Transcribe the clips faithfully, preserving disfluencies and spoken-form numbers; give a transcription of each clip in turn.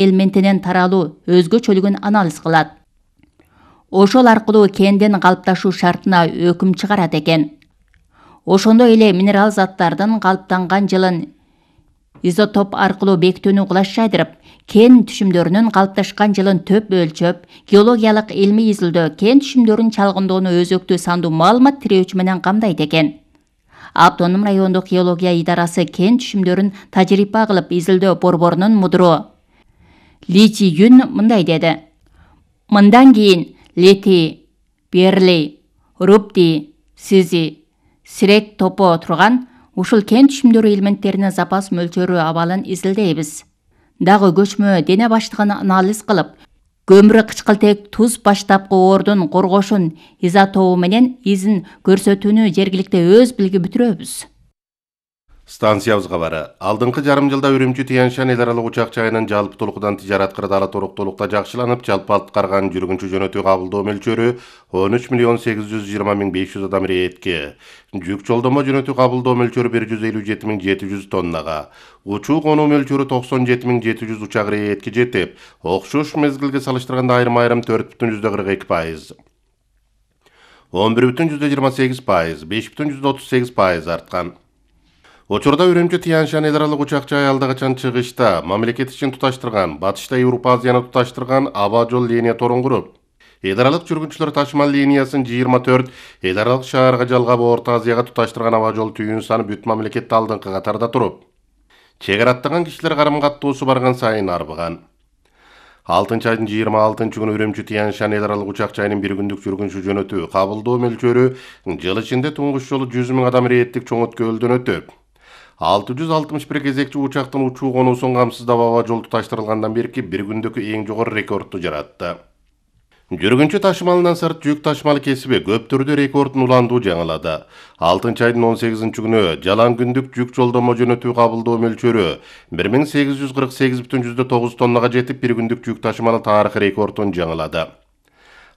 элементинин таралуу өзгөчөлүгүн анализ кылат. Ошол аркылуу кендин калыпташуу шартына өкүм чыгарат экен. Ошондой эле минерал заттардын калыптанган жылын изотоп аркылуу бекитүүнү кулаш жайдырып, кен түшүмдөрүнүн калыпташкан жылын төп өлчөп, геологиялык илмий изилдөө кен түшүмдөрүн чалгындоону өзөктүү сандуу маалымат тирөөчү менен камдайт экен. Автоном райондук геология идарасы кен түшүмдөрүн тажрыйба кылып изилдөө борборунун мудуру Ли Чи Юн мындай деди. Мындан кийин лити, берли, рупти, сизи, сирек топо турган ушул кен түшүмдөрү элементтеринин запас мөлчөрү абалын изилдейбиз. Дагы көчмө дене баштыгын анализ кылып, көмүрү кычкылтек туз баштапкы ордун коргошун изотопу менен изин көрсөтүүнү жергиликте өз билги бүтүрөбүз. Станциябызга бары. Алдыңкы жарым жылда Үрүмчү Тянь-Шань эл аралык учак жайынын жалпытуулукдан тижарат кырдаалы туруктуулукта жакшыланып, жалпы аткарган жүргүнчү жөнөтүү кабылдоо мөлчөрү он үч миллион сегиз жүз жыйырма миң беш жүз адам иретке, жүк жолдомо жөнөтүү кабылдоо мөлчөрү бир жүз элүү жети миң жети жүз тоннага, учуу конуу мөлчөрү токсон жети миң жети жүз учак иретке жетип, окшош мезгилге салыштырганда айрым-айрым төрт бүтүн жүздө кырк эки пайыз, он бир бүтүн жүздө жыйырма сегиз пайыз, беш бүтүн жүздө отуз сегиз пайыз арткан. Учурда Үрүмчү Тянь-Шань эл аралык учак жай алда качан чыгышта мамлекет ичин туташтырган, батышта Европа Азияны туташтырган аба жол линия торун куруп, эл аралык жүргүнчүлөр ташымал линиясын жыйырма төрт, эл аралык шаарга жалгап Орто Азияга туташтырган аба жол түйүн саны бүт мамлекетте алдыңкы катарда туруп, чек аттаган кишилер карым каттуусу барган сайын арбыган. алтынчы айдын жыйырма алтынчы күнү Үрүмчү Тянь-Шань эл аралык учак жайынын бир күндүк жүргүнчү жөнөтүү кабылдоо мөлчөрү жыл ичинде туңгуч жолу жүз миң адам иреттик чоң өткөлдөн өтүп, алты жүз алтымыш бир кезекчи учактын учуу конуусун камсыздап аба жол туташтырылгандан берки бир күндөгү эң жогору рекордду жаратты. Жүргүнчү ташымалынан сырт жүк ташымалы кесиби көп түрдө рекордун уландуу жаңылады. алтынчы айдын он сегизинчи күнү жалаң күндүк жүк жолдомо жөнөтүү кабылдоо мөлчөрү бир миң сегиз жүз кырк сегиз бүтүн жүздө тогуз тоннага жетип, бир күндүк жүк ташымалы тарыхый рекордун жаңылады.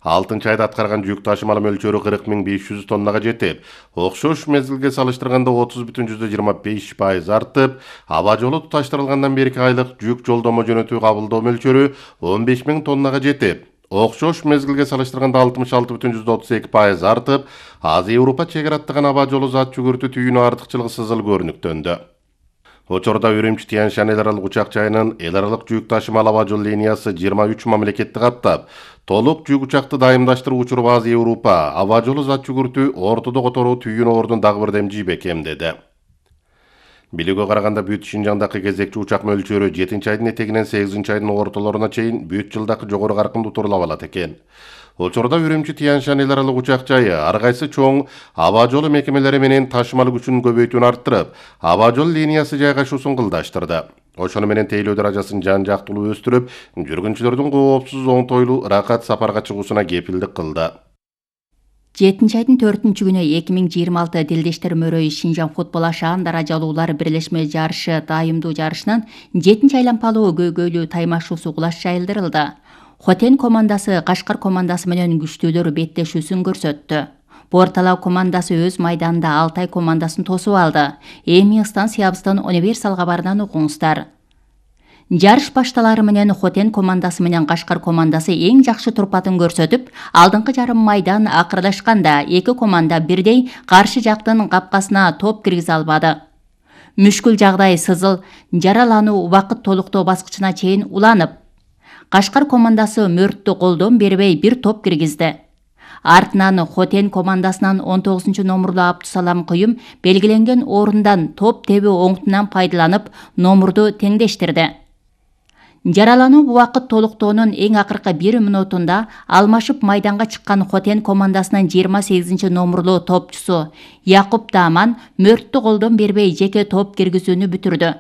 алтынчы айда аткарган жүк ташымалы мөлчөрү кырк миң беш жүз тоннага жетип, окшош мезгилге салыштырганда отуз бүтүн жүздө жыйырма беш пайыз артып, аба жолу туташтырылгандан берки айлык жүк жолдомо жөнөтүү кабылдоо мөлчөрү он беш миң тоннага жетип, окшош мезгилге салыштырганда алтымыш алты бүтүн жүздө отуз эки пайыз артып, Азия Европа чек аттаган аба жолу зат жүгүртүү түйүнү артыкчылыгы сызыл көрүнүктөндү. Учурда Үрүмчү Тянь-Шань эл аралык учак жайынын эл аралык жүк ташымал аба жол линиясы жыйырма үч мамлекетти каптап, толук жүк учакты дайымдаштыруу учуруп Азия Европа аба жолу зат жүгүртүү ортодо которуу түйүн ордун дагы бирдем жийбекем деди. Билүүгө караганда бүт Шинжаңдагы кезекчи учак мөлчөрү жетинчи айдын этегинен сегизинчи айдын ортолоруна чейин бүт жылдагы жогору каркынды турулап алат экен. Учурда Үрүмчү Тянь-Шань эл аралык учак жайы ар кайсы чоң аба жолу мекемелери менен ташымал күчүн көбөйтүүнү арттырып, аба жол линиясы жайгашуусун кылдаштырды. Ошону менен тейлөө даражасын жан-жактылуу өстүрүп, жүргүнчүлөрдүн коопсуз, оңтойлуу, ыракат сапарга чыгуусуна кепилдик кылды. жетинчи айдын төртүнчү күнү эки миң жыйырма алты Дилдештер мөрөйү Шинжаң футбол ашаан даражалуулар бирлешме жарышы дайымдуу жарышынын жетинчи айланпалуу көйгөйлүү таймашуусу кулаш жайылдырылды. Хотен командасы Кашкар командасы менен күчтүүлөр беттешүүсүн көрсөттү. Борталау командасы өз майданында Алтай командасын тосуп алды. Эми станциябыздын универсал кабарынан окуңуздар. Жарыш башталары менен Хотен командасы менен Кашкар командасы эң жакшы турпатын көрсөтүп, алдыңкы жарым майдан акырдашканда эки команда бирдей каршы жактын капкасына топ киргизе албады. Мүшкүл жагдай сызыл жаралануу убакыт толуктоо баскычына чейин уланып, Кашкар командасы мөрттү колдон бербей бир топ киргизди. Артынан Хотен командасынан он тогузунчу номурлуу Абдусалам Кыюм белгиленген орундан топ тебүү оңтунан пайдаланып, номурду теңдештирди. Жаралануу убакыт толуктоонун эң акыркы бир мүнөтүндө алмашып майданга чыккан Хотен командасынын жыйырма сегизинчи номурлуу топчусу Якуп Даман мөрттү колдон бербей жеке топ киргизүүнү бүтүрдү.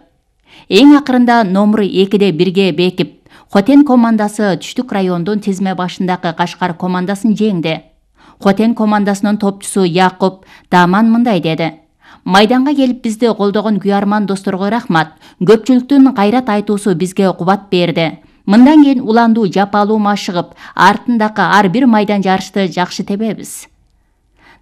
Эң акырында номуру экиде бирге бекип, Хотен командасы түштүк райондун тизме башындагы Кашкар командасын жеңди. Хотен командасынын топчусу Якуп Даман мындай деди: Майданга келип бизди колдогон күйарман досторго рахмат. Көпчүлүктүн кайрат айтуусу бизге кубат берди. Мындан кийин уландуу жапалуу машыгып, артындагы ар бир майдан жарышты жакшы тебебиз.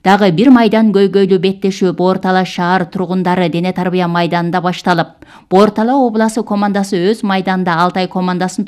Дагы бир майдан көйгөйлүү беттешүү Боор Тала шаар тургундары дене тарбия майданында башталып, Боор Тала обласы командасы өз майданында Алтай командасын